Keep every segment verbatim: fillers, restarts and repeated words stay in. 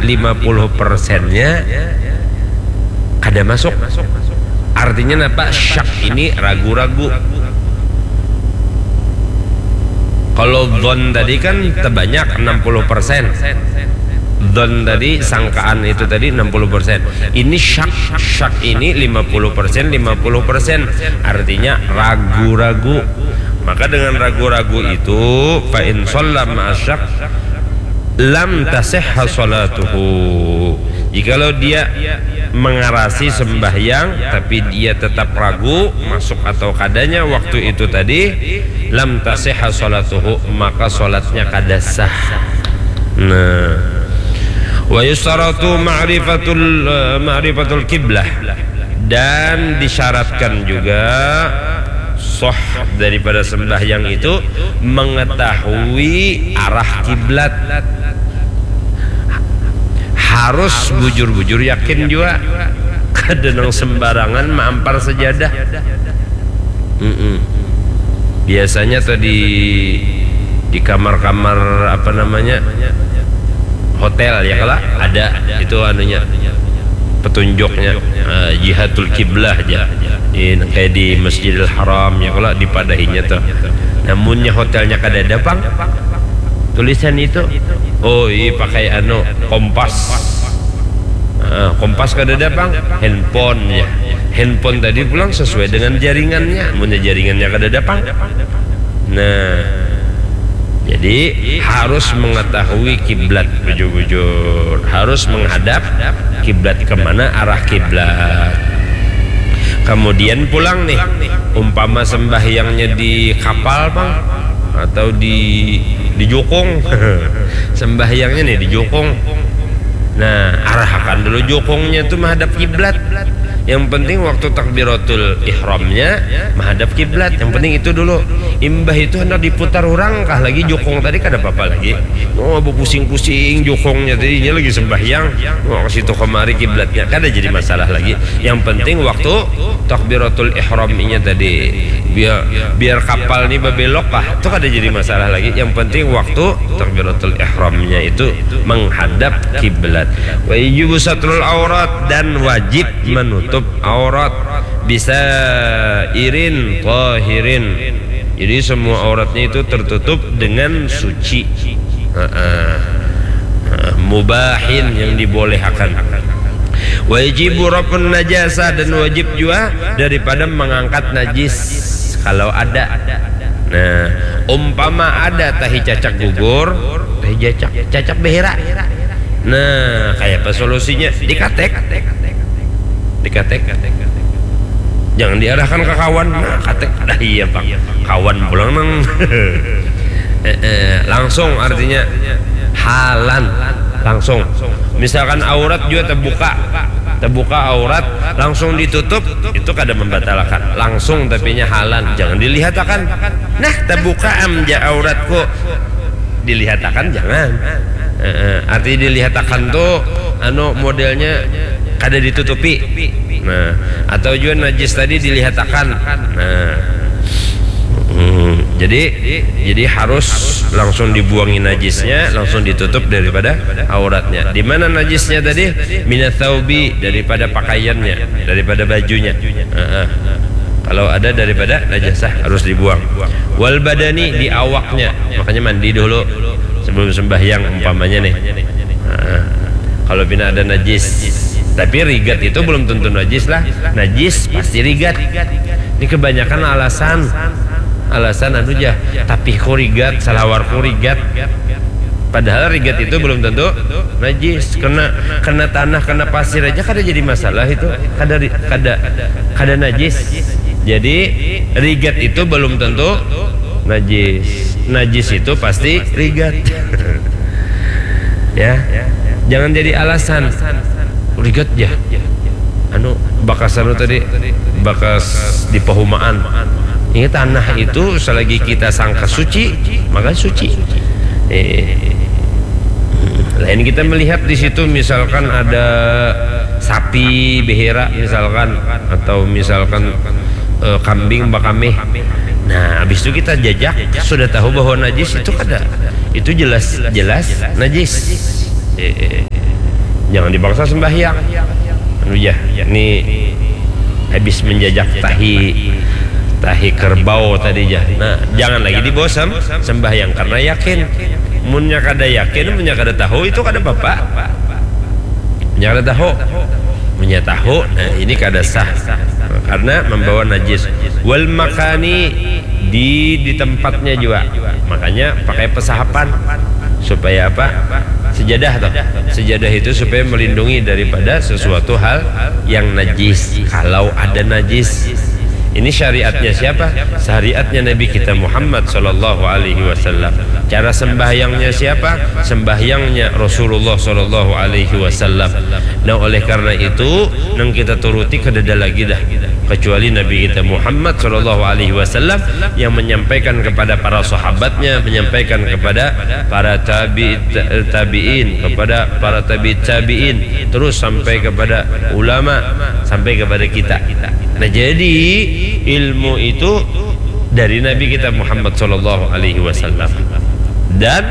lima puluh persennya kada masuk. Artinya napa? Syak ini ragu-ragu. Kalau dhon tadi kan terbanyak enam puluh persen. Dhon tadi, sangkaan itu tadi enam puluh persen. Ini syak, syak ini lima puluh persen, lima puluh persen. Artinya ragu-ragu. Maka dengan ragu-ragu itu, fa in shalla ma'a syak, lam tasihha sholatuhu. Jikalau dia mengarasi sembahyang, tapi dia tetap ragu masuk atau kadanya waktu itu tadi, lam tasihha sholatuhu, maka sholatnya kada sah. Nah, wa yustaratu ma'rifatul, eh, ma'rifatul kiblah, dan disyaratkan juga sah daripada sembahyang itu mengetahui arah kiblat. Harus bujur-bujur yakin juga. Kada nang sembarangan maampar sajadah. Mm-mm. Biasanya tuh di, di kamar-kamar, apa namanya, hotel ya, kalau ada itu anunya, petunjuknya, eh, jihatul kiblah aja. Ini kayak di Masjidil Haram ya, kalau dipadahinya tuh. Namunnya hotelnya kada ada pang tulisan itu, oh iya, pakai anu, kompas. Ah, kompas kada ada pang, handphone ya. Handphone tadi pulang sesuai dengan jaringannya. Munnya jaringannya kada ada pang, nah, jadi harus mengetahui kiblat bujur-bujur, harus menghadap kiblat, kemana arah kiblat. Kemudian pulang nih, umpama sembahyangnya di kapal pang atau di, di jukung, sembahyangnya nih di jukung. Nah, arahkan dulu jukungnya tuh menghadap kiblat. Yang penting waktu takbiratul ihramnya menghadap kiblat. Yang penting itu dulu. Imbah itu hendak diputar orang kah lagi jukung tadi, kada apa-apa lagi. Oh, pusing-pusing jukungnya tadi, ini lagi sembahyang. Oh, ke situ kemari kiblatnya, kada jadi masalah lagi. Yang penting waktu takbiratul ihramnya tadi, biar, biar kapal ini babelok kah, itu kada jadi masalah lagi. Yang penting waktu takbiratul ihramnya itu menghadap kiblat. Wa yujibu satrul aurat, dan wajib menutup aurat, bisa irin tahirin. Jadi semua auratnya itu tertutup dengan suci. Heeh. Heeh. Mubahin, yang dibolehkan. Wajibu raf'un najasah, dan wajib juga daripada mengangkat najis kalau ada. Nah, umpama ada tahi cacak gugur, tahi cacak, cacak behera. Nah, kayak apa solusinya? Dikatek. Dikatek. Jangan diarahkan ke kawan. Nah, katek. Dah iya, Pak. Kawan pulang nang. Eh, eh, langsung artinya halan. Langsung. Misalkan aurat juga terbuka. Terbuka aurat, langsung ditutup, itu kada membatalkan. Langsung tapinya halan. Jangan dilihatakan. Nah, terbuka am ja auratku. Dilihatakan jangan. Eh, eh, arti dilihatakan tuh, anu, modelnya kada ditutupi. Nah, atau juga najis tadi dilihatakan. Nah. Hmm, jadi, jadi harus langsung dibuangi najisnya, langsung ditutup daripada auratnya. Di mana najisnya tadi? Minats tsaubi, daripada pakaiannya, daripada bajunya. Heeh. Kalau ada daripada najasah harus dibuang. Wal badani, di awaknya. Makanya mandi dulu sebelum sembahyang umpamanya nih. Nah, kalau pina ada najis, tapi rigat itu belum tentu najis lah. Najis pasti rigat. Ini kebanyakan alasan. Alasan anu ja, tapihku rigat, salawarku rigat. Padahal rigat itu belum tentu najis. Kena, kena tanah, kena pasir aja kada jadi masalah itu. Kada ri-, kada, kada najis. Jadi rigat itu belum tentu najis. Najis itu pasti rigat. Ya. Jangan jadi alasan. Rigat ya. Anu, bakas anu tadi, bakas di pahumaan. Ini tanah itu selagi kita sangka suci, maka suci. Eh, lain kita melihat di situ misalkan ada sapi behera misalkan, atau misalkan, eh, kambing bakamih. Nah, habis itu kita jajak, sudah tahu bahwa najis itu kada. Itu jelas-jelas najis. Eh, eh. Jangan dipaksa sembahyang. Anu jah, ini habis menjajak tahi, tahi kerbau tadi jah. Nah, jangan lagi dibawa sem-, sembahyang karena yakin. Munnya kada yakin, munnya kada tahu, itu kada apa-apa. Munnya kada tahu. Munnya tahu, nah, ini kada sah. Karena membawa najis. Wal makani, di, di tempatnya juga. Makanya pakai pesahapan. Supaya apa? Sejadah toh. Sejadah itu supaya melindungi daripada sesuatu hal yang najis. Kalau ada najis. Ini syariatnya siapa? Syariatnya Nabi kita Muhammad sallallahu alaihi wasallam. Cara sembahyangnya siapa? Sembahyangnya Rasulullah sallallahu alaihi wasallam. Nah, oleh karena itu, nang kita turuti kadada lagi dah. Kecuali Nabi kita Muhammad sallallahu alaihi wasallam yang menyampaikan kepada para sahabatnya, menyampaikan kepada para tabi-, ta-, tabi'in, kepada para tabi-, tabi'in, terus sampai kepada ulama, sampai kepada kita. Nah, jadi ilmu itu dari Nabi kita Muhammad sallallahu alaihi wasallam. Dan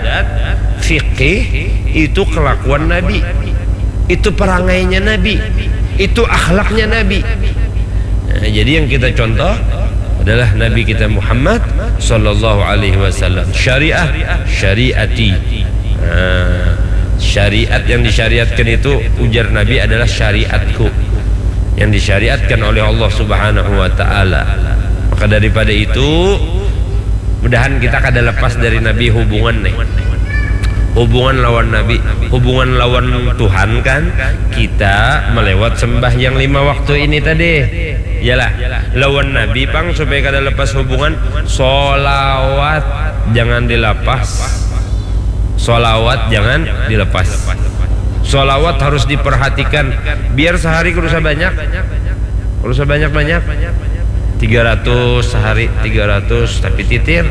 fikih itu kelakuan Nabi. Itu perangainya Nabi. Itu akhlaknya Nabi. Nah, jadi yang kita contoh adalah Nabi kita Muhammad sallallahu alaihi wasallam. Syariah, syariati. Nah, syariat yang disyariatkan itu, ujar Nabi, adalah syariatku yang disyariatkan oleh Allah Subhanahu wa taala. Maka daripada itu, mudahan kita kada lepas dari Nabi hubungan nih. Hubungan lawan Nabi, hubungan lawan Tuhan kan kita melewat sembahyang lima waktu ini tadi. Yalah, lawan Nabi pang supaya kada lepas hubungan, solawat jangan dilepas. Solawat jangan dilepas. Solawat harus diperhatikan. Biar sehari kada usah banyak. Kada usah banyak-banyak. Tiga ratus sehari, tiga ratus, tapi titir.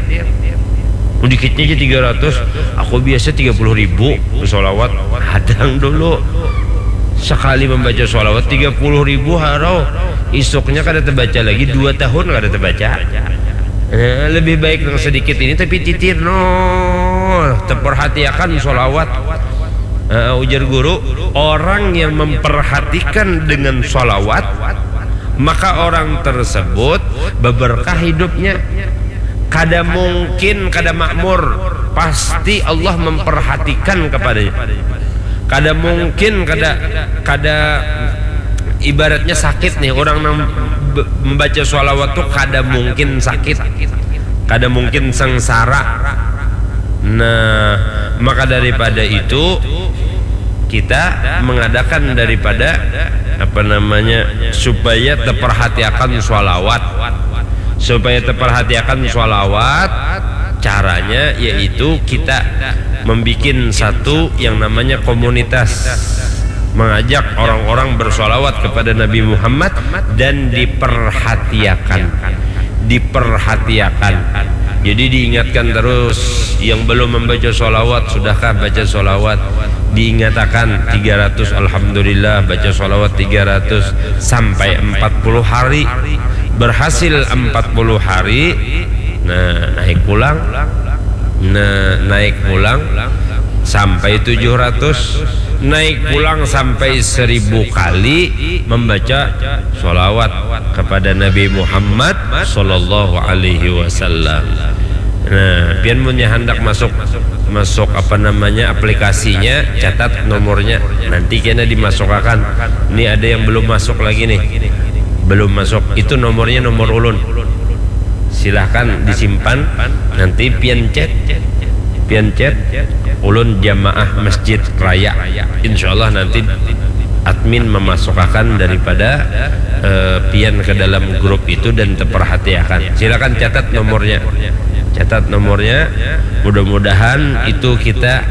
Dikitnya aja tiga ratus. Aku biasa tiga puluh ribu solawat. Hadang dulu. Sekali membaca solawat tiga puluh ribu harau. Isuknya kada terbaca lagi, dua tahun kada terbaca. Eh, lebih baik yang sedikit ini tapi titir, no. Terperhatiakan solawat. Eh, ujar guru, orang yang memperhatikan dengan solawat, maka orang tersebut beberkah hidupnya. Kada mungkin kada makmur, pasti Allah memperhatikan kepadanya. Kada mungkin kada, kada, ibaratnya sakit nih, orang nang be-, membaca sholawat tuh kada mungkin sakit, kada mungkin sengsara. Nah, maka daripada itu kita mengadakan daripada apa namanya, supaya terperhatiakan sholawat, supaya terperhatiakan sholawat. Caranya yaitu kita membuat satu yang namanya komunitas, mengajak orang-orang bersolawat kepada Nabi Muhammad dan diperhatiakan, diperhatiakan. Jadi diingatkan terus, yang belum membaca solawat, sudahkah baca solawat? Diingatakan tiga ratus, alhamdulillah, baca solawat tiga ratus sampai empat puluh hari. Berhasil empat puluh hari, nah, naik pulang. Nah, naik pulang sampai tujuh ratus, naik pulang sampai seribu kali membaca solawat kepada Nabi Muhammad sallallahu alaihi wasallam. Nah, pian munnya handak masuk, masuk apa namanya, aplikasinya, catat nomornya. Nanti kena dimasukakan. Ini ada yang belum masuk lagi nih. Belum masuk. Itu nomornya nomor ulun. Silahkan disimpan. Nanti pian chat, pian chat. Ulun jamaah Masjid Raya. Insya Allah nanti admin memasukakan daripada eh, pian ke dalam grup itu dan terperhatiakan. Silakan catat nomornya. Catat nomornya. Mudah-mudahan itu kita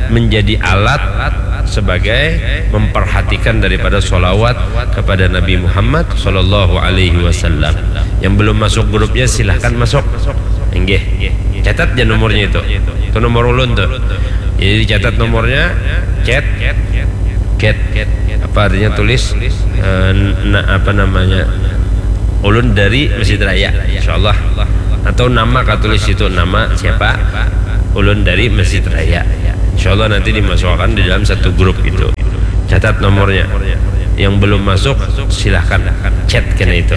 menjadi alat sebagai memperhatikan daripada solawat kepada Nabi Muhammad sallallahu alaihi wasallam. Yang belum masuk grupnya, silahkan masuk. Inggih. Catat aja nomornya itu. Itu nomor ulun tuh. Jadi dicatat nomornya, chat, chat. Apa artinya, tulis eh, na, apa namanya, ulun dari Masjid Raya, insya Allah. Atau nama katulis itu, nama siapa, ulun dari Masjid Raya. Insya Allah nanti dimasukkan di dalam satu grup itu. Catat nomornya. Yang belum masuk, silahkan chat kena itu.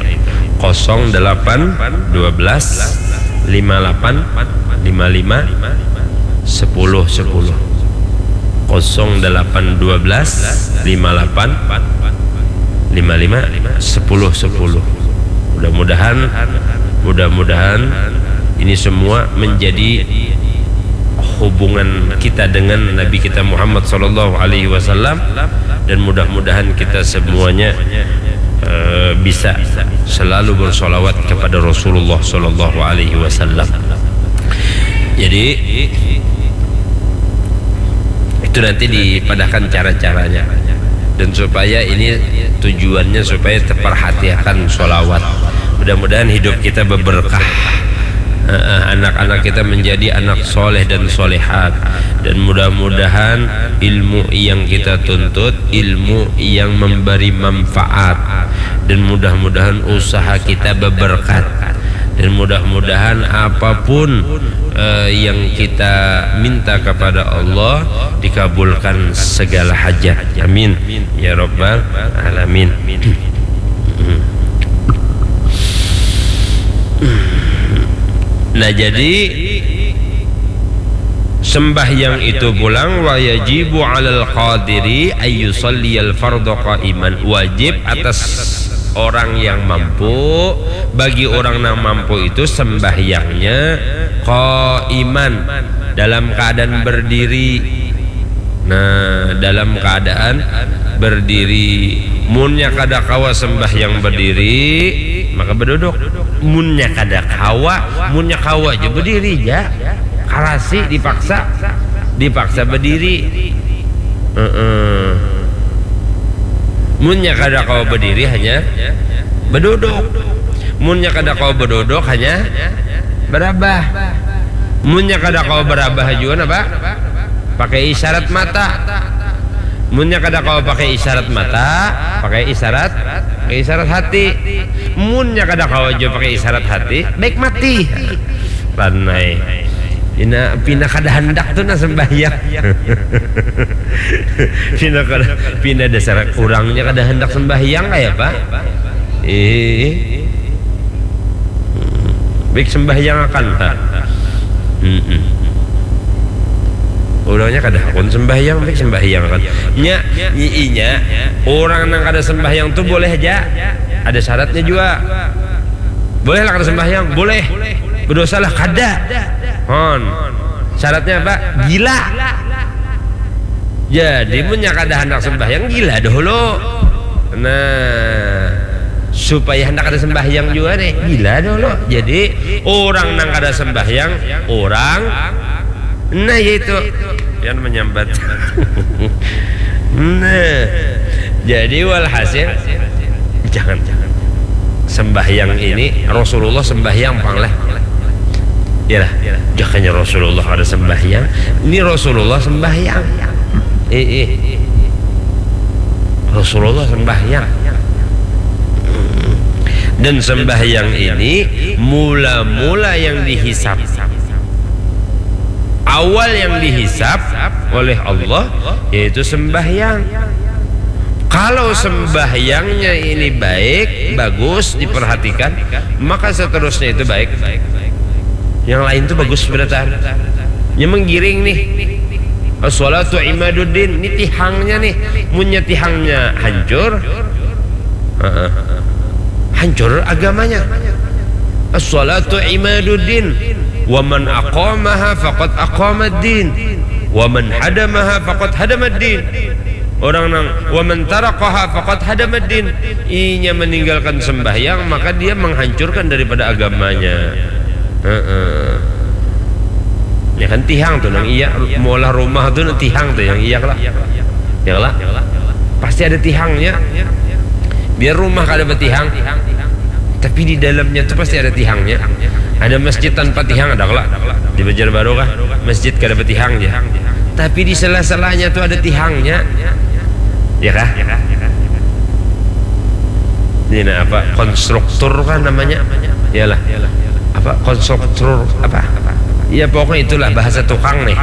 Kosong delapan dua belas lima lapan lima lima sepuluh sepuluh. Kosong delapan dua belas lima lapan lima lima sepuluh sepuluh. Mudah-mudahan, mudah-mudahan ini semua menjadi hubungan kita dengan Nabi kita Muhammad sallallahu alaihi wasallam, dan mudah-mudahan kita semuanya eh, bisa selalu bersolawat kepada Rasulullah sallallahu alaihi wasallam. Jadi itu nanti dipadahkan cara-caranya, dan supaya ini tujuannya supaya terperhatikan solawat. Mudah-mudahan hidup kita berberkah. Eh, anak-anak kita menjadi anak soleh dan solehat, dan mudah-mudahan ilmu yang kita tuntut ilmu yang memberi manfaat, dan mudah-mudahan usaha kita berberkat, dan mudah-mudahan apapun eh, yang kita minta kepada Allah dikabulkan segala hajat. Amin ya rabbal alamin. Nah, jadi sembahyang itu pulang, wa yajibu alal qadiri ayyusalliyal fardhu qaiman, wajib atas orang yang mampu, bagi orang yang mampu itu sembahyangnya qaiman, dalam keadaan berdiri. Nah, dalam keadaan berdiri. Munnya kada kawa sembahyang berdiri, maka beduduk. Munnya kada kawa, munnya kawa aja berdiri aja. Karasi dipaksa, dipaksa berdiri. Heeh. Munnya kada kawa berdiri hanya beduduk. Munnya kada kawa beduduk hanya berabah. Munnya kada kawa berabah juga apa? Pakai isyarat mata. Munnya kada kawa pakai isyarat mata, pakai isyarat, pakai isyarat hati. Munnya kada kawa juga pakai isyarat hati, baik mati. Ranai. Pina, pina kada handak tu nah sembahyang. Pina kada, pina dasar urangnya kada handak sembahyang kaya apa? Eh. Baik sembahyang akan. Ha. Mm-mm. Urangnya kada hakun sembahyang, baik sembahyang akan. Nya, nyiinya, orang nang kada sembahyang tu boleh aja. Ada syaratnya juga. Boleh lah kada sembahyang, boleh. Berdosa lah kada. Hon. Syaratnya apa? Gila. Jadi munnya kada handak sembahyang, gila dahulu. Nah, supaya handak kada sembahyang juga nih, gila dahulu. Jadi orang nang kada sembahyang, orang nah yaitu yang menyambat. Nah, jadi walhasil jangan, jangan. Sembahyang ini Rasulullah sembahyang pang lah. Iyalah, jakanya Rasulullah ada sembahyang. Ini Rasulullah sembahyang. Eh, eh. Rasulullah sembahyang. Dan sembahyang ini mula-mula yang dihisap. Awal yang dihisap oleh Allah yaitu sembahyang. Kalau sembahyangnya ini baik, bagus, diperhatikan, maka seterusnya itu baik. Yang lain tuh bagus berataan. Nya menggiring nih. As-salatu imaduddin, ini tihangnya nih. Munnya tihangnya hancur, heeh, hancur agamanya. As-salatu imaduddin, wa man aqamaha faqad aqamaddin, wa man hadamaha faqad hadamaddin. Orang nang, wa man tarakaha faqad hadamaddin. Inya meninggalkan sembahyang, maka dia menghancurkan daripada agamanya. Heeh. Ya kan tihang tuh nang iya, maulah rumah tuh nang tihang tuh yang iya lah. Ya lah. Pasti ada tihangnya. Biar rumah kada betihang, tapi di dalamnya tuh pasti ada tihangnya. Ada masjid tanpa tihang ada lah. Di Banjarbaru kah? Masjid kada betihang ya. Tapi di sela-selanya tuh ada tihangnya. Ya kah? Ini nah apa? Konstruktur kan namanya? Iyalah. Apa? Konstruktur apa? Ya pokoknya itulah bahasa tukang nih.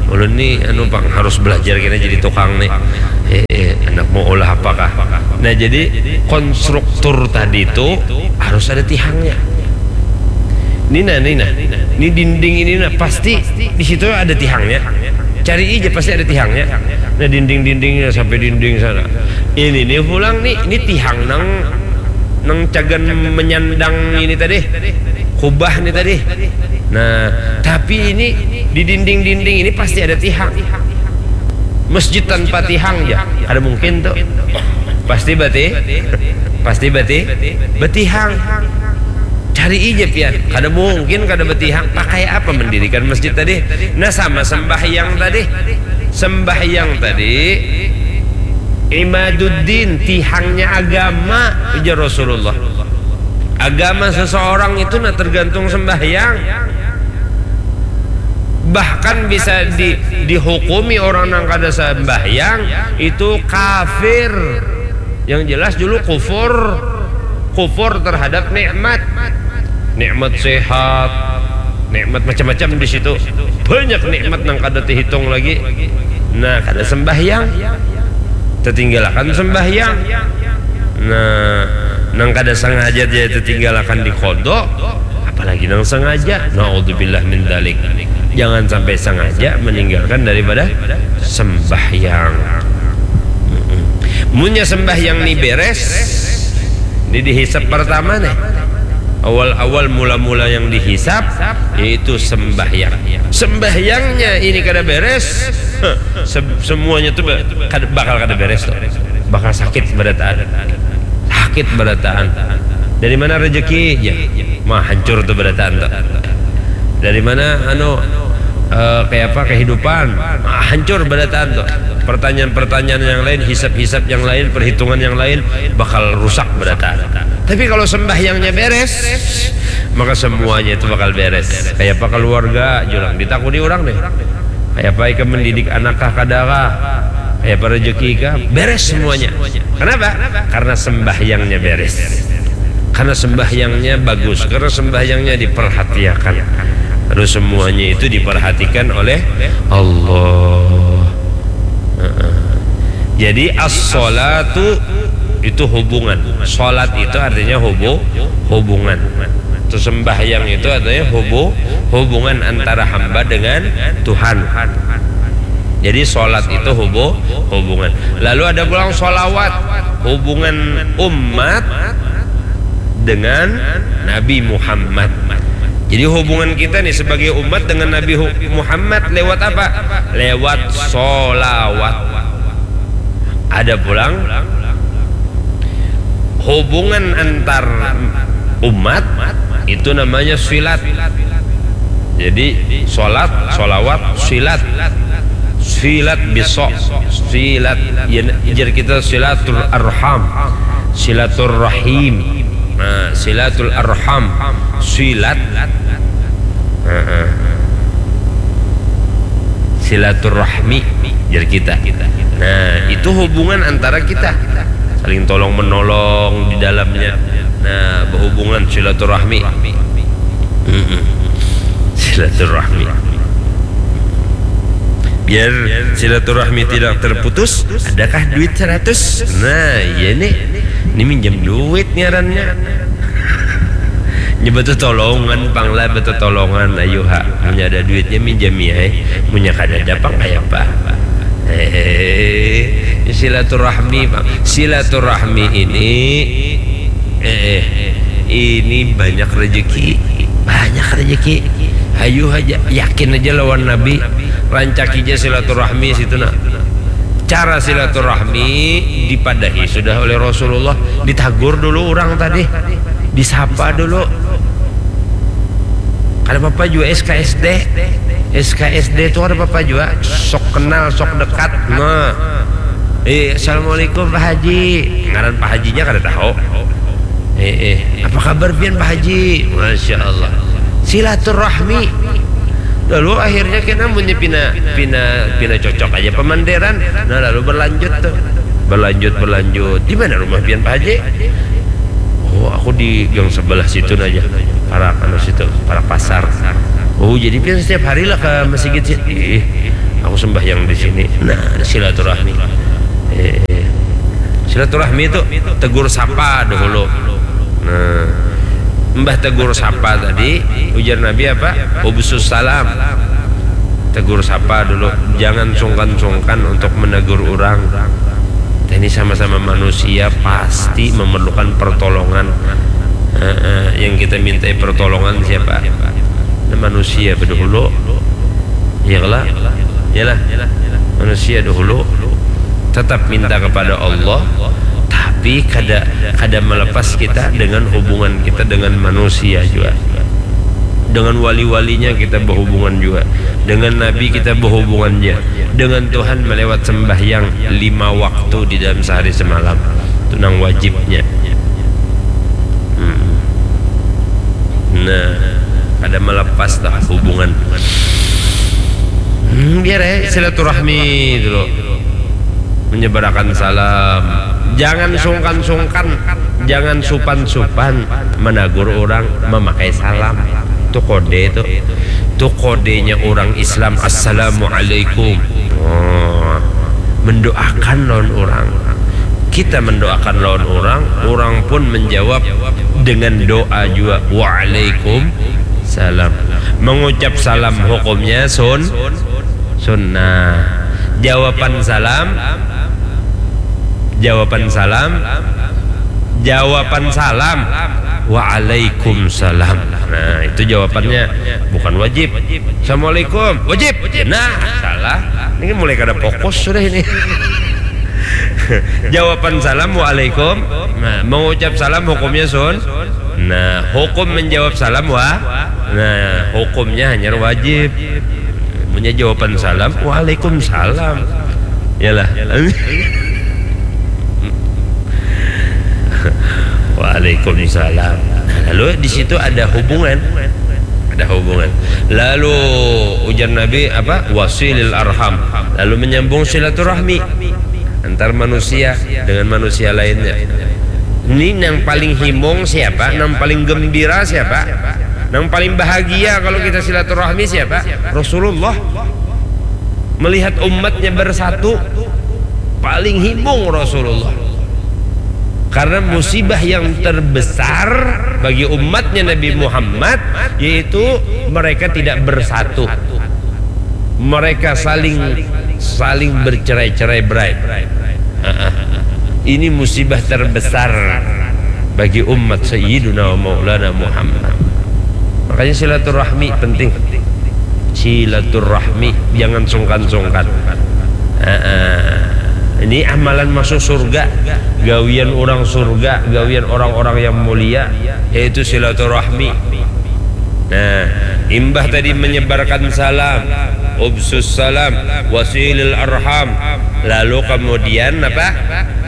Ulun nih anu pang harus belajar kena jadi tukang nih. Eh, eh, Mau ulah apakah? Nah, jadi konstruktur tadi itu harus ada tihangnya. Ini nah, ini nah, ini dinding ini nah, pasti di situ ada tihangnya. Cari aja, pasti ada tihangnya. Nah, dinding-dindingnya sampai dinding sana. Ini nih pulang nih, ini tihang nang nang cagan menyandang ini tadi, kubah ini tadi. Nah, tapi ini di dinding-dinding ini pasti ada tihang. Masjid tanpa tihang ya, ada mungkin tuh. Pasti beti, pasti beti, betihang. Cari aja pian, kada mungkin kada betihang. Pakai apa mendirikan masjid tadi? Nah, sama sembahyang tadi. Sembahyang tadi imaduddin, tihangnya agama, ujar Rasulullah. Agama seseorang itu nah tergantung sembahyang. Bahkan bisa di, dihukumi orang yang kada sembahyang itu kafir. Yang jelas dulu kufur, kufur terhadap nikmat, nikmat sehat, nikmat macam-macam di situ. Banyak nikmat nang kada terhitung lagi. Nah, kada sembahyang, tertinggalakan sembahyang. Nah, nang kada sengaja dia tertinggalakan di kodok, apalagi nang sengaja. Naudzubillah min dalik. Jangan sampai sengaja meninggalkan daripada sembahyang. Munnya sembahyang ni beres, ini dihisap pertama nih. Awal-awal mula-mula yang dihisap yaitu sembahyang. Sembahyangnya ini kada beres, semuanya tuh bakal kada beres tuh. Bakal sakit berataan. Sakit berataan. Dari mana rezeki? Ya, mah hancur tuh berataan tuh. Dari mana anu, eh, kayak apa kehidupan? Ah, hancur berataan tuh. Pertanyaan-pertanyaan yang lain, hisap-hisap yang lain, perhitungan yang lain bakal rusak berataan. Tapi kalau sembahyangnya beres, maka semuanya itu bakal beres. Kayak apa keluarga, julang ditakuni orang deh. Kayak apa ikam mendidik anak kah, kada kah? Kayak apa rezeki kah? Beres semuanya. Kenapa? Karena sembahyangnya beres. Karena sembahyangnya bagus, karena sembahyangnya diperhatiakan. Terus semuanya itu diperhatikan oleh Allah. Heeh. Jadi as-sholatu itu hubungan. Sholat itu artinya hubu, hubungan. Itu sembahyang itu artinya hubu, hubungan antara hamba dengan Tuhan. Jadi sholat itu hubu, hubungan. Lalu ada pulang sholawat, hubungan umat dengan Nabi Muhammad. Jadi hubungan kita nih sebagai umat dengan Nabi Hu- Muhammad lewat apa? Lewat sholawat. Ada pulang hubungan antar umat itu namanya silat. Jadi sholat, sholawat, silat, silat bisa, silat. Ya, jar kita silatul arham, silaturrahim. Nah, silatul arham, silat. Heeh. Silaturrahmi, jar kita. Nah, itu hubungan antara kita, saling tolong menolong di dalamnya. Nah, berhubungan silaturahmi. Mm-mm. Silaturahmi. Biar silaturahmi tidak terputus, adakah duit seratus? Nah, iya nih. Ini minjam duit ngarannya. Nya betetolongan pang lah, betetolongan, ayu ha. Munnya ada duitnya minjami ai. Munnya kadada pang kaya apa? Hehehe. Silaturahmi pang. Silaturahmi ini, eh, ini banyak rezeki. Banyak rezeki. Ayu haja, yakin aja lawan Nabi. Rancaki aja silaturahmi situ nah. Cara silaturahmi dipadahi sudah oleh Rasulullah. Ditagur dulu urang tadi. Disapa dulu. Kada apa-apa jua S K S D. S K S D tu kada apa-apa jua. Sok kenal, sok dekat. Nah. Eh, assalamualaikum Pak Haji. Ngaran Pak Hajinya kada tahu. Eh, eh. Apa kabar pian Pak Haji? Masya Allah. Silaturahmi. Lalu akhirnya kena munnya pina, pina, pina cocok aja pemanderan. Nah, lalu berlanjut tuh. Berlanjut, berlanjut. Di mana rumah pian Pak Haji? Oh, aku di gang sebelah situ aja. Parak anu situ, parak pasar. Oh, jadi pian setiap hari lah ke masjid sih. Ih, aku sembahyang di sini. Nah, silaturahmi. Eh, eh. Silaturahmi itu tegur sapa dahulu. Nah, mbah tegur sapa tadi, ujar Nabi apa? Ubsus salam. Tegur sapa dulu, jangan sungkan-sungkan untuk menegur orang. Kita ini sama-sama manusia, pasti memerlukan pertolongan. Heeh, yang kita mintai pertolongan siapa? Nah, manusia dahulu. Iya kala? Iyalah. Manusia dahulu. Tetap minta kepada Allah, tapi kada kada melepas kita dengan hubungan kita dengan manusia juga. Dengan wali-walinya kita berhubungan juga. Dengan Nabi kita berhubungan juga. Dengan Tuhan melewat sembahyang lima waktu di dalam sehari semalam. Itu nang wajibnya. Hmm. Nah, kada melepas dah hubungan. Hmm, biar ya silaturahmi dulu. Menyebarakan salam. Jangan sungkan-sungkan, jangan supan-supan menegur orang memakai salam. Itu kode itu. Itu kodenya orang Islam. Assalamualaikum. Oh, mendoakan lawan orang. Kita mendoakan lawan orang, orang pun menjawab dengan doa juga. Waalaikum salam. Mengucap salam hukumnya sun sunnah. Jawaban salam, jawaban salam, jawaban salam. Waalaikumsalam. Nah, itu jawabannya, bukan wajib. Assalamualaikum, wajib. Nah, salah. Ini mulai kada fokus sudah ini. Jawaban salam, waalaikum. Nah, mengucap salam hukumnya sun. Nah, hukum menjawab salam wa. Nah, hukumnya hanya wajib. Punya jawaban salam, waalaikumsalam. Yalah. Waalaikumsalam. Nah, lalu di situ ada hubungan. Ada hubungan. Lalu ujar Nabi apa? Wasilil arham. Lalu menyambung silaturahmi antar manusia dengan manusia lainnya. Ini yang paling himung siapa? Yang paling gembira siapa? Yang paling bahagia kalau kita silaturahmi siapa? Rasulullah. Melihat umatnya bersatu, paling himung Rasulullah. Karena musibah yang terbesar bagi umatnya Nabi Muhammad yaitu mereka tidak bersatu. Mereka saling saling bercerai-cerai berai. Ini musibah terbesar bagi umat Sayyiduna wa Maulana Muhammad. Makanya silaturahmi penting. Silaturahmi, jangan sungkan-sungkan. Ini amalan masuk surga, gawian orang surga, gawian orang-orang yang mulia, yaitu silaturahmi. Nah, imbah tadi menyebarkan salam, ubsus salam, wasilil arham, lalu kemudian apa?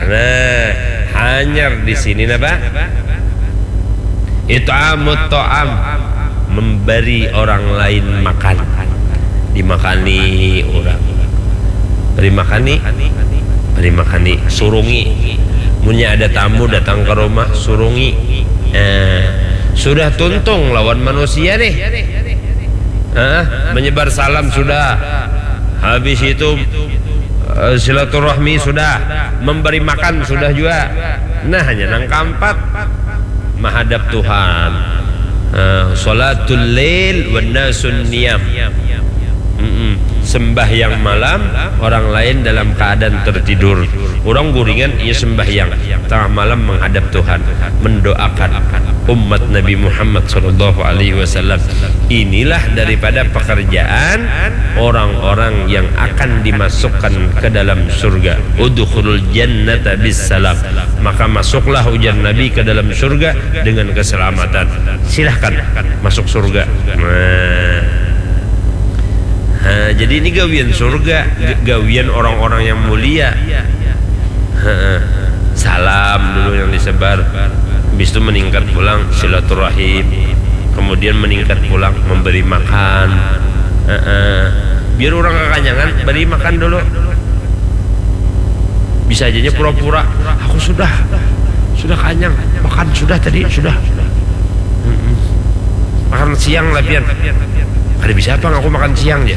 Nah, hanyar di sini apa? It'amut ta'am, memberi orang lain makan. Dimakani orang. Beri makani, beri makani, surungi. Munnya ada tamu datang ke rumah, surungi. Eh, sudah tuntung lawan manusia nih. Hah? Menyebar salam sudah. Habis itu eh, silaturahmi sudah, memberi makan sudah juga. Nah, hanya nang keempat, menghadap Tuhan. Eh, salatul lail wan nasun niyam. Mm-mm. Sembahyang malam, orang lain dalam keadaan tertidur. Orang guringan, ia sembahyang. Tengah malam menghadap Tuhan, mendoakan umat Nabi Muhammad sallallahu alaihi wasallam. Inilah daripada pekerjaan orang-orang yang akan dimasukkan ke dalam surga. Udkhulul jannata bis salam. Maka masuklah, ujar Nabi, ke dalam surga dengan keselamatan. Silahkan masuk surga. Nah. Ha, jadi ini gawian surga, g- gawian orang-orang yang mulia. Ha, salam dulu yang disebar, habis itu meningkat pulang silaturahim, kemudian meningkat pulang memberi makan. Ha, biar orang kekanyangan, beri makan dulu. Bisa aja pura-pura, aku sudah, sudah kanyang, makan sudah tadi, sudah. Mm-mm. Makan siang lah pian. Kada bisa apa aku makan siang ya.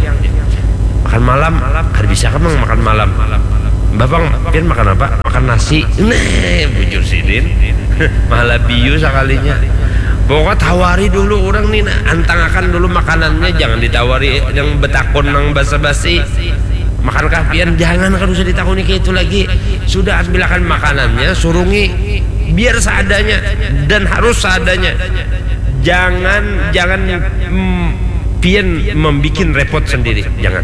Makan malam, kada bisa kan makan malam. Bapang, pian makan apa? Makan nasi. Nah, bujur sidin. Malah biu sakalinya. Pokoknya tawari dulu orang nih, nah, antangakan dulu makanannya, jangan ditawari yang betakun nang basa-basi. Makankah pian? Jangan, kada usah ditakuni kayak itu lagi. Sudah ambilakan makanannya, surungi biar seadanya dan harus seadanya. Jangan jangan mm, pian membikin repot sendiri. Jangan.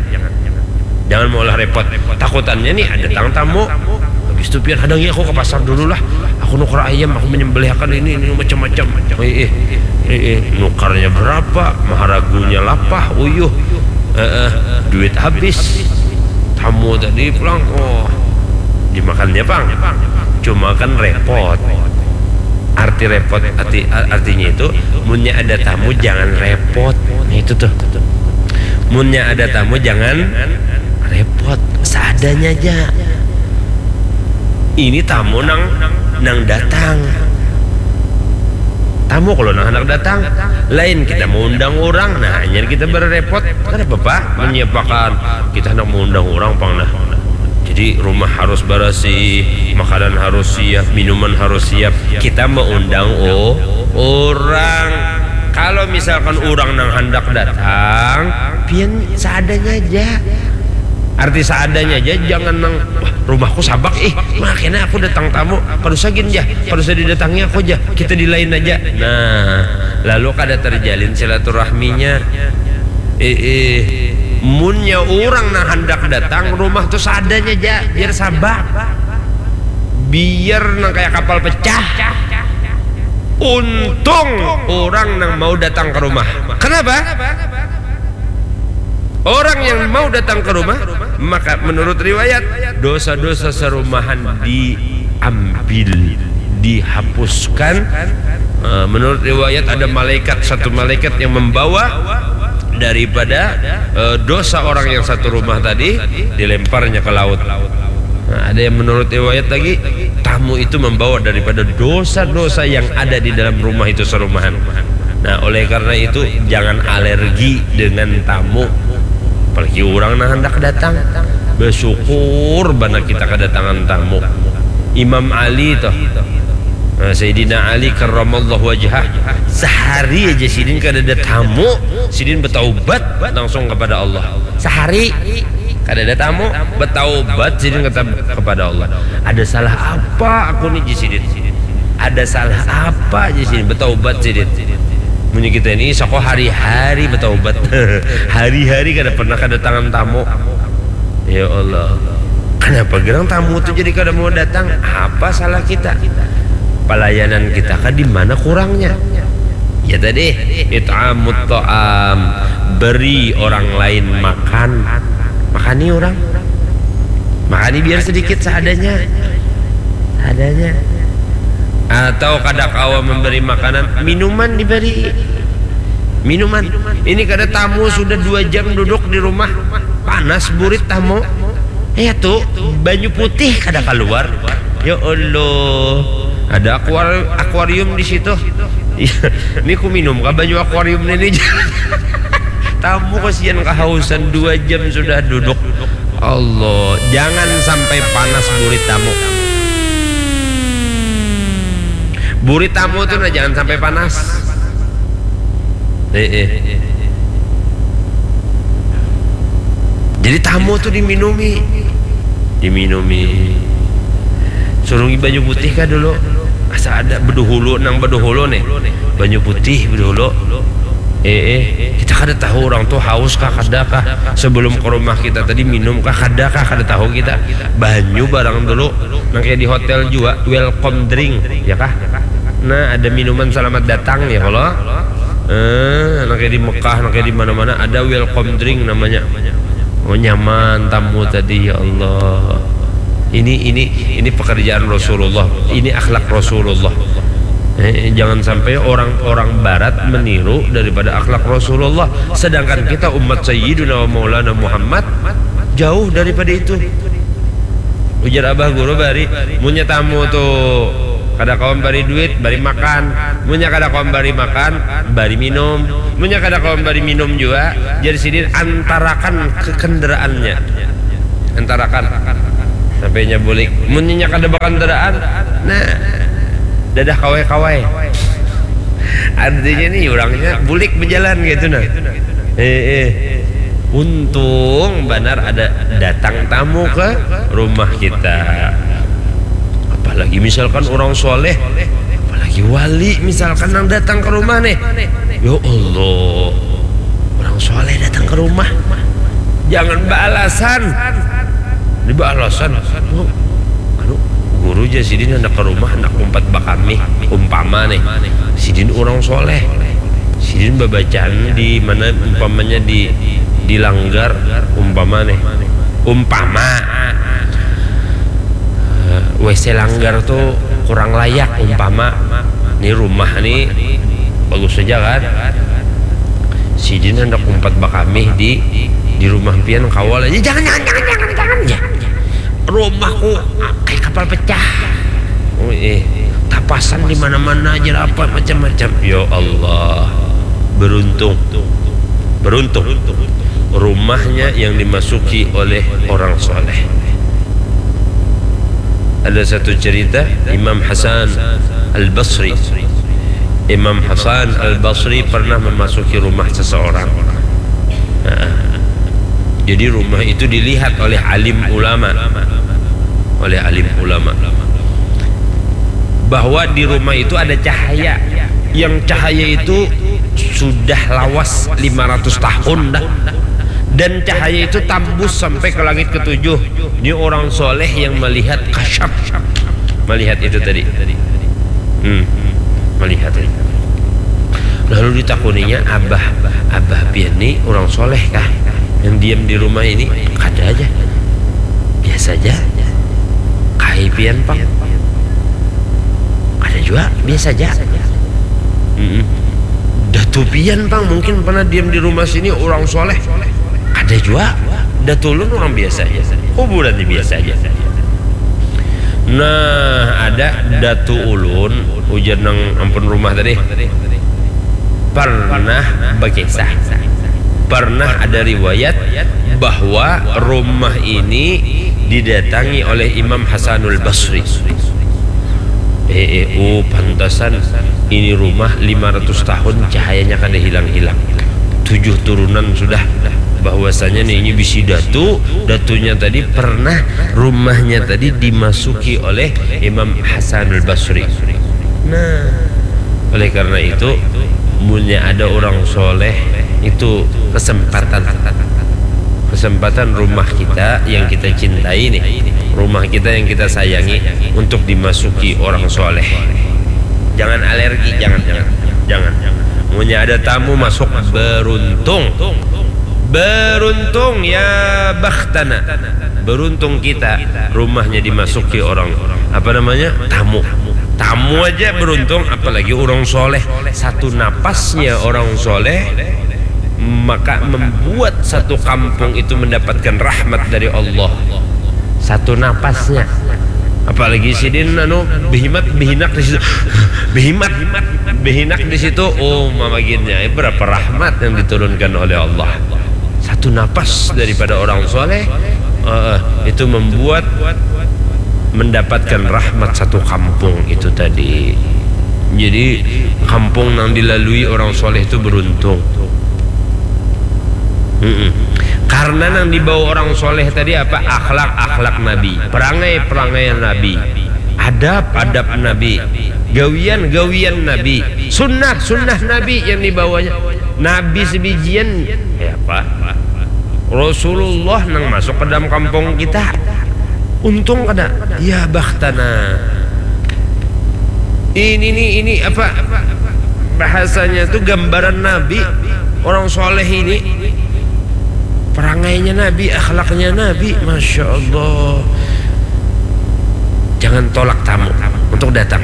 Jangan maulah repot. Takutannya nih ada tang tamu. Habis itu pian hadangi aku ke pasar dulu lah. Aku nukar ayam, aku menyembelihkan ini ini macam-macam. Eh, eh, eh, eh, nukarnya berapa? Maharagunya lapah, uyuh. Eh, eh, duit habis. Tamu tadi pulang, oh, dimakannya pang. Cuma kan repot. Arti repot, arti artinya itu, munnya ada tamu jangan repot. Nah, itu tuh. Munnya ada tamu jangan repot, seadanya aja. Ini tamu nang nang datang. Tamu kalau nang hendak datang, lain kita mau undang orang, nah hanya kita berrepot. Kenapa pak? Menyiapakan, kita hendak mau undang orang pang nah. Jadi rumah harus bersih, makanan harus siap, minuman harus siap. Kita mau undang oh orang. Kalau misalkan orang nang hendak datang, pian seadanya aja. Arti seadanya aja, jangan nang, "Wah, rumahku sabak ih, makanya aku datang tamu, kada usah gin jah, kada usah didatangi aku jah, kita di lain aja." Nah, lalu kada terjalin silaturahminya. Eh, eh. Munnya orang nang hendak datang rumah tuh seadanya aja, biar sabak. Biar nang kayak kapal pecah. Untung orang nang mau datang ke rumah. Kenapa? Orang yang mau datang ke rumah, maka menurut riwayat, dosa-dosa serumahan diambil, dihapuskan. Eh, menurut riwayat ada malaikat, satu malaikat yang membawa daripada eh, dosa orang yang satu rumah tadi, dilemparnya ke laut. Nah, ada yang menurut riwayat lagi, tamu itu membawa daripada dosa-dosa yang ada di dalam rumah itu serumahan. Nah, oleh karena itu jangan alergi dengan tamu. Apalagi orang nah hendak datang. Bersyukur bana kita kedatangan tamu. Imam Ali tuh. Nah, Sayyidina Ali karramallahu wajhah, sehari aja sidin kada ada tamu, sidin bertaubat langsung kepada Allah. Sehari kada ada tamu, bertaubat sidin kata kepada Allah. Ada salah apa aku ni, ji sidin? Ada salah apa, ji sidin? Bertaubat sidin. Munnya kita ini soko hari-hari bertaubat. Hari-hari kada pernah kedatangan tamu. Ya Allah. Kenapa gerang tamu tu jadi kada mau datang? Apa salah kita? Pelayanan kita kan di mana kurangnya? Ya tadi, it'amut ta'am, beri orang lain makan. Makani orang. Makani biar sedikit seadanya. Seadanya. Atau kada kawa memberi makanan, minuman diberi. Minuman. Ini kada tamu sudah dua jam duduk di rumah. Panas burit tamu. Ya tuh, banyu putih kada keluar. Ya Allah. Ada akuar akuarium di situ. Iya, ini ku minum kah banyu akuarium ini? Tamu kasihan kehausan, dua jam sudah duduk. Allah, jangan sampai panas burit tamu. Burit tamu tuh nah jangan sampai panas. Eh, eh. Jadi tamu tuh diminumi, diminumi. Surungi banyu putih kah dulu? Asa ada beduhulu, nang beduhulu nih. Banyu putih beduhulu. Eh, eh, kita kada tahu orang tuh haus kah kada kah, sebelum ke rumah kita tadi minum kah kada kah, kada tahu kita. Banyu barang dulu, nang kayak di hotel juga, welcome drink, ya kah? Nah, ada minuman selamat datang ya kalau eh, nang kayak di Mekah, nang kayak di mana-mana ada welcome drink namanya. Oh, nyaman tamu tadi, ya Allah. Ini ini ini pekerjaan Rasulullah. Ini akhlak Rasulullah. Eh, jangan sampai orang-orang barat meniru daripada akhlak Rasulullah. Sedangkan kita umat Sayyiduna wa Maulana Muhammad jauh daripada itu. Ujar abah guru bari, munnya tamu tuh kada kawan bari duit, bari makan. Munnya kada kawan bari makan, bari minum. Munnya kada kawan bari minum juga, jadi sidin antarakan ke kendaraannya. Antarakan. Sampai nya bulik. Munnya kada bakandaraan, nah, dadah kawai-kawai. Artinya nih, orangnya bulik berjalan gitu nah. Eh, eh. Untung benar ada datang tamu ke rumah kita. Apalagi misalkan orang soleh, apalagi wali misalkan yang datang ke rumah nih. Ya Allah, orang soleh datang ke rumah. Jangan beralasan. Ini beralasan. "Oh, anu, guru aja sidin hendak ke rumah, hendak umpat bakami." Umpama nih, sidin orang soleh. Sidin babacaan di mana, umpamanya di di langgar, umpama nih. Umpama. Eh, W C langgar tuh kurang layak, umpama. Ini rumah nih bagus saja kan. Sidin hendak umpat bakamih di di rumah pian, kawal aja. Jangan, jangan, jangan, jangan, jangan. Ya. Rumahku kayak kapal pecah. Oh, eh, tapasan di mana-mana aja, apa macam-macam. Ya Allah. Beruntung. Beruntung. Rumahnya yang dimasuki oleh orang soleh. Ada satu cerita, Imam Hasan Al-Basri. Imam Hasan Al-Basri pernah memasuki rumah seseorang. Nah, jadi rumah itu dilihat oleh alim ulama. Oleh alim ulama. Bahwa di rumah itu ada cahaya. Yang cahaya itu sudah lawas lima ratus tahun dah. Dan cahaya itu tambus sampai ke langit ketujuh. Ini orang soleh yang melihat kasyaf. Melihat itu tadi. Hmm, melihat itu. Lalu ditakuninya, "Abah, abah pian ni orang soleh kah? Yang diam di rumah ini?" "Kada aja. Biasa aja." "Kai pian, Pang?" "Kada jua, biasa aja." "Mm-mm. Datu pian, Pang, mungkin pernah diam di rumah sini orang soleh." "Kada jua. Datu ulun orang biasa aja. Kuburan ni biasa aja." "Nah, ada datu ulun," ujar nang ampun rumah tadi, "pernah bakisah, pernah ada riwayat bahwa rumah ini didatangi oleh Imam Hasanul Basri." Eh, eh, oh, pantasan ini rumah lima ratus tahun cahayanya kada hilang-hilang. Tujuh turunan sudah bahwasanya nih ini bisi datu, datunya tadi pernah rumahnya tadi dimasuki oleh Imam Hasanul Basri. Nah, oleh karena itu, munnya ada orang soleh itu kesempatan, kesempatan rumah kita yang kita cintai nih, rumah kita yang kita sayangi untuk dimasuki orang soleh. Jangan alergi, jangan, jangan, jangan. Munnya ada tamu masuk, beruntung, beruntung, ya bakhtana. Beruntung kita, rumahnya dimasuki orang, apa namanya, tamu. Tamu aja beruntung, apalagi orang soleh. Satu napasnya orang soleh, maka membuat satu kampung itu mendapatkan rahmat dari Allah. Satu napasnya. Apalagi sidin anu, behimat, behinak di situ. Behimat, behinak di situ. Oh, mamaginnya, berapa rahmat yang diturunkan oleh Allah. Satu napas daripada orang soleh, eh, itu membuat mendapatkan rahmat satu kampung itu tadi. Jadi, kampung yang dilalui orang soleh itu beruntung. Mm-mm. Karena yang dibawa orang soleh tadi apa? Akhlak, akhlak Nabi, perangai, perangai Nabi, adab, adab Nabi, gawian, gawian Nabi, sunnah, sunnah Nabi yang dibawanya. Nabi sebijian, ya apa? Rasulullah nang masuk ke dalam kampung kita. Untung kada? Ya bakhtana. Ini nih, ini apa bahasanya tuh, gambaran Nabi, orang soleh ini, perangainya Nabi, akhlaknya Nabi, masya Allah. Jangan tolak tamu untuk datang.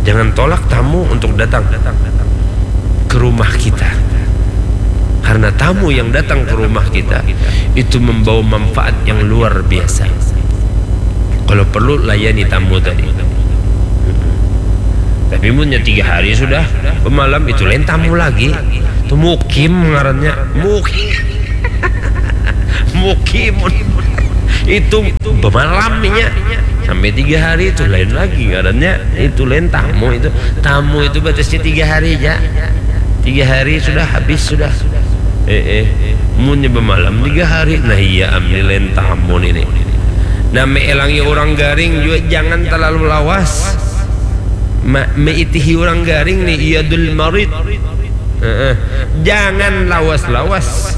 Jangan tolak tamu untuk datang ke rumah kita. Karena tamu yang datang ke rumah kita itu membawa manfaat yang luar biasa. Kalau perlu, layani tamu tadi. Tapi munnya tiga hari sudah, malam itu lain tamu lagi. Itu mukim ngarannya. Mukim. Mukimun. Itu bemalamnya sampai tiga hari itu lain lagi ngarannya. Itu lain tamu itu. Tamu itu batasnya tiga hari aja. Tiga hari sudah habis sudah. Eh eh. Munnya bemalam tiga hari. Nah iya am ni lain tamu ini. Nah, meelangi orang garing juga jangan terlalu lawas. Ma, meitihi orang garing nih iyadul marid. Heeh. Jangan lawas-lawas.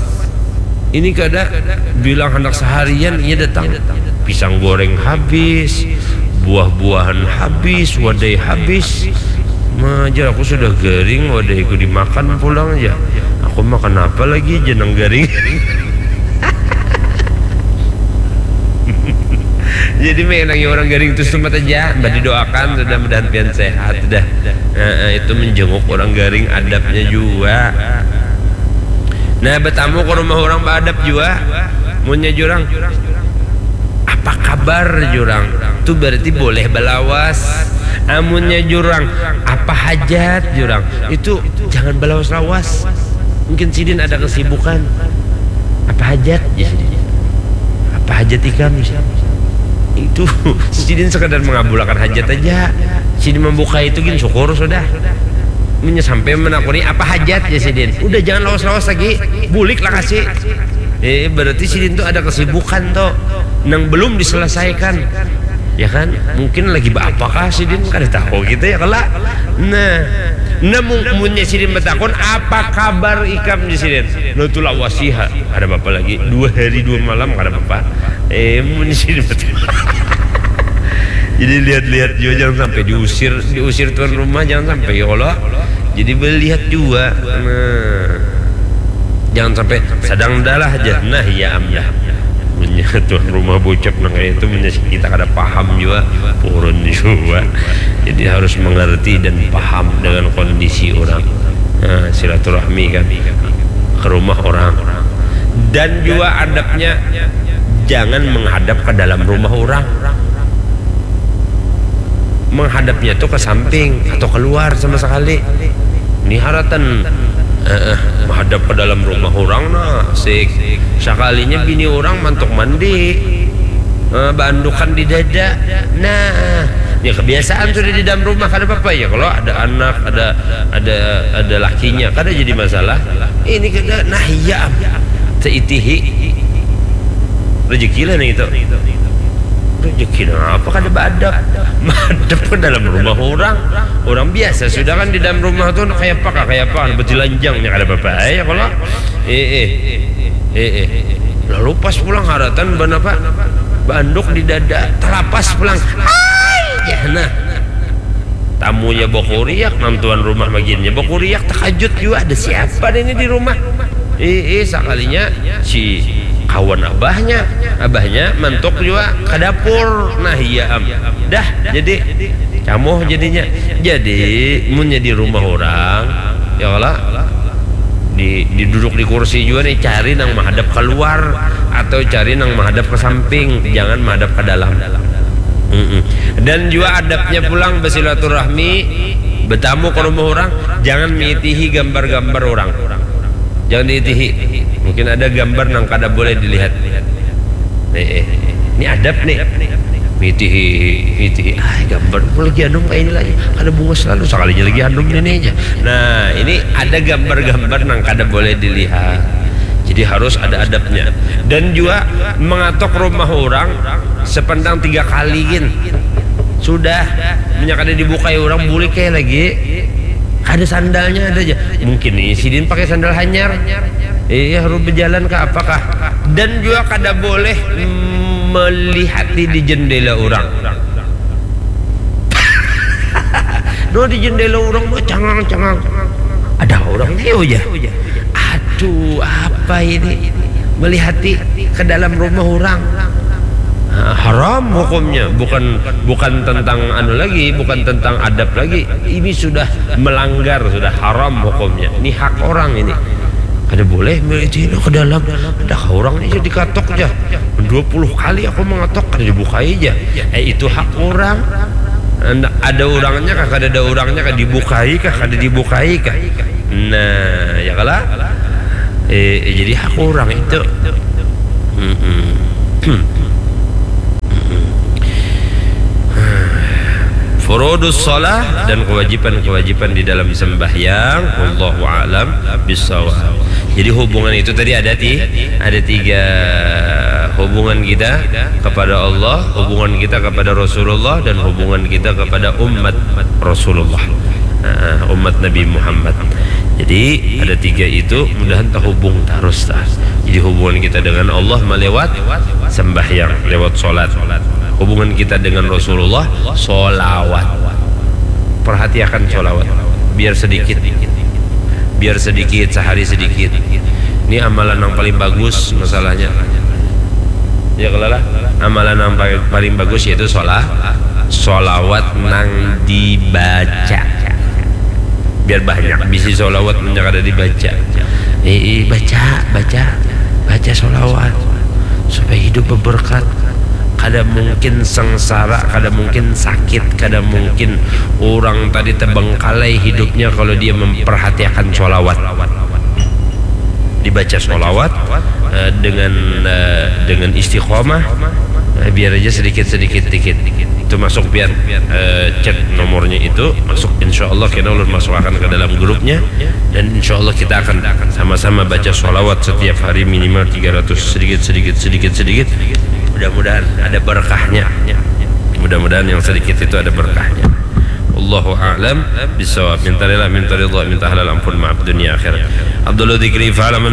Ini kada bilang hendak seharian ia datang. Pisang goreng habis, buah-buahan habis, wadai habis. Majar aku sudah garing, wadaiku dimakan pulang aja. Aku makan apa lagi jeneng garing. Jadi menangi orang garing tu setempat aja, mbah didoakan sudah mudahan pian sehat dah. Nah, itu menjenguk orang garing adabnya juga. Nah, bertamu ke rumah orang beradab juga. Munnya jurang, apa kabar jurang? Tu berarti boleh belawas. Amunnya jurang, apa hajat jurang? Itu jangan belawas-lawas. Mungkin sidin ada kesibukan. Apa hajat ya sidin? Apa hajat ikam ya sidin? Itu sidin sekadar mengabulakan hajat aja. Sidin membuka itu gin syukur sudah. Munnya sampai menakuni apa hajat ya sidin. Udah jangan lawas-lawas lagi. Bulik lah kasih. Eh, berarti sidin tuh ada kesibukan tuh nang belum diselesaikan. Ya kan? Mungkin lagi apa kah sidin kada tahu gitu ya kala. Nah, namun munnya sidin bertakun apa kabar ikam di sidin? Lo tuh lawasiha, ada apa lagi? Dua hari dua malam kada apa-apa. Eh, munnya sidin bertakun. Jadi lihat-lihat juga jangan sampai diusir, diusir tuan rumah jangan sampai ya Allah. Jadi melihat juga. Nah, jangan sampai sadang dalah aja. Nah, ya am dah. Munnya tuan rumah bocap nang kayak itu munnya kita kada paham juga, purun juga. Jadi harus mengerti dan paham dengan kondisi orang. Nah, silaturahmi kan ke rumah orang. Dan juga adabnya jangan menghadap ke dalam rumah orang. Menghadapnya tuh ke samping atau keluar sama sekali. Ini haratan eh, eh, menghadap ke dalam rumah orang nah, sik. Sekalinya bini orang mantuk mandi. Eh, bandukan di dada. Nah, ya kebiasaan sudah di dalam rumah kada apa-apa ya kalau ada anak, ada ada ada lakinya, kada jadi masalah. Ini kada nah iya. Seitihi. Rezeki lah nih itu. Rezeki apa kada beadab? Madep ke dalam rumah orang. Orang biasa sudah kan di dalam rumah tuh kayak apa kayak apa bertilanjangnya kada apa-apa ya kalau eh eh eh eh lalu pas pulang haratan ban apa banduk di dada telapas pulang ay ya nah tamunya bakuriak nang tuan rumah bagiannya bakuriak takajut juga ada siapa ini di rumah eh eh sekalinya si kawan abahnya abahnya mantuk juga ke dapur nah iya am dah jadi camoh jadinya jadi munnya di rumah orang ya Allah di, di duduk di kursi juga nih cari nang menghadap keluar atau cari nang menghadap ke samping jangan menghadap ke dalam Mm-mm. Dan juga adabnya pulang bersilaturahmi bertamu ke rumah orang jangan mitihi gambar-gambar orang jangan diitihi mungkin ada gambar nang kada boleh dilihat eh, eh. Ini adab nih mitihi mitihi ah gambar aku lagi anum kayak ini lagi kada bunga selalu sekalinya lagi anum ini aja nah ini ada gambar-gambar nang kada boleh dilihat jadi harus ada adabnya dan juga mengatok rumah orang sepandang tiga kali gin sudah minyak ada dibukai orang boleh kayak lagi ada sandalnya ada aja mungkin nih sidin pakai sandal hanyar iya harus berjalan ke apakah dan juga kada boleh melihati di jendela orang no di jendela orang mah cangang cangang ada orang nih aja aduh apa ini melihati ke dalam rumah orang Nah, haram hukumnya bukan bukan tentang anu lagi bukan tentang adab lagi ini sudah melanggar sudah haram hukumnya ini hak orang ini kada boleh melihat ke dalam dah orang ini dikatok aja dua puluh kali aku mengatok kada dibukai aja eh itu hak orang ada orangnya kah kada ada orangnya kah dibukai kah kada dibukai kah nah ya kalah eh, eh, jadi hak orang itu Furudus shalah dan kewajiban-kewajiban di dalam sembahyang. Wallahu a'lam bishawab. Jadi hubungan itu tadi ada ti ada tiga hubungan kita kepada Allah, hubungan kita kepada Rasulullah, dan hubungan kita kepada umat Rasulullah. Nah, umat Nabi Muhammad. Jadi ada tiga itu mudahan terhubung terus lah. Jadi hubungan kita dengan Allah melewat sembahyang, lewat sholat. Hubungan kita dengan Rasulullah, sholawat. Perhatiakan sholawat, biar sedikit, biar sedikit, sehari sedikit. Ini amalan yang paling bagus masalahnya. Ya kalau lah, amalan yang paling, paling bagus yaitu sholat, sholawat nang dibaca. Biar banyak bisi sholawat nang kada dibaca. Eh, eh, baca, baca, baca sholawat supaya hidup berberkat. Kada mungkin sengsara, kada mungkin sakit, kada mungkin orang tadi terbengkalai hidupnya kalau dia memperhatiakan sholawat. Dibaca sholawat eh, dengan eh, dengan istiqomah, eh, biar aja sedikit sedikit dikit. Itu masuk pian eh, chat nomornya itu masuk, insya Allah kita ulun masuk akan ke dalam grupnya, dan insya Allah kita akan sama-sama baca sholawat setiap hari minimal tiga ratus, sedikit sedikit sedikit sedikit. Mudah-mudahan ada berkahnya. Mudah-mudahan yang sedikit itu ada berkahnya. Allahu a'lam bishawab. Minta rela, minta ridha, minta halal ampun, maaf dunia akhirat. Abdullah Dikri, fa'alaman